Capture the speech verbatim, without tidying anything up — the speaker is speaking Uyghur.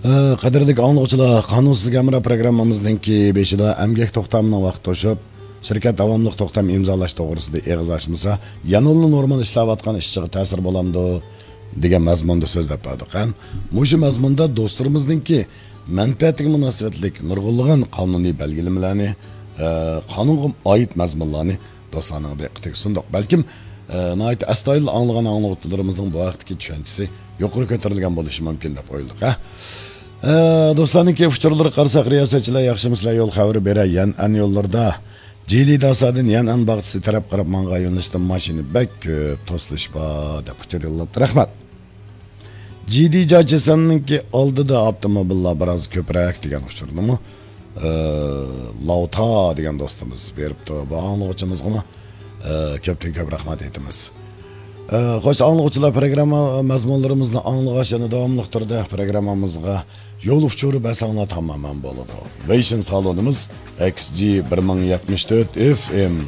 قەدىرلىك ئاڭلىغۇچىلار، قانۇنسىز ھەمراھ پروگراممىمىزنىڭكى بېشىدا ئەمگەك توختامىنىڭ ۋاقتى توشۇپ، شىركەت داۋاملىق توختام ئىمزالاش توغرىسىدا ئېغىز ئاچمىسا، يەنىلا نورمال ئىشلەۋاتقان ئىشچىغا تەسىر بولامدۇ؟ دېگەن مەزمۇندا سۆزلەپ بەردۇق. ھەم مۇشۇ مەزمۇندا دوستلىرىمىزنىڭكى مەنپەئەتىگە مۇناسىۋەتلىك نۇرغۇنلىغان قانۇنىي بەلگىلىمىلەرنى، ئە، قانۇنغا ئائىت مەزمۇنلارنى دوستلارنىڭ دىققىتىگە سۇندۇق. بەلكىم، ئە، ناھايىتى ئەستايىدىل ئاڭلىغان ئاڭلىغۇچىلىرىمىزنىڭ بۇ ھەقتىكى چۈشەنچىسى يۇقىرى كۆتۈرۈلگەن بولۇشى مۇمكىن دەپ ئويلىدۇق، ھە؟ ئە، دوستلارنىڭكى ئۇچۇرلىرىغا قارىساق، رىياسەتچىلەر ياخشىمۇسىلەر يول خەۋىرى بېرە يەنئەن يوللىرىدا. جىلى داسادىن يەنئەن باغچىسى تەرەپ قاراپ ماڭغان يۆنىلىشتە ماشىنا بەك كۆپ، توسۇلۇش بار، دەپ ئۇچۇر يوللاپتۇ. رەھمەت. جىدى جاچىسەننىڭكى ئالدىدا ئاپتوموبىللار بىراز كۆپرەك دېگەن ئۇچۇرنىمۇ، ئە، لاۋتا دېگەن دوستىمىز بېرىپتۇ. بۇ ئاڭلىغۇچىمىزغىمۇ، ئە، كۆپتىن كۆپ رەھمەت ئېيتىمىز. ئە، خوش ئاڭلىغۇچىلار، پروگرامما مەزمۇنلىرىمىزنى ئاڭلىغاچ، يەنە داۋاملىق تۈردە پروگراممىمىزغا يول ئۇچۇرى بەرسەڭلار تامامەن بولىدۇ. ۋېيشىن سالونىمىز، ئېكس جى بىر مىڭ يەتمىش تۆت ئېف ئېم.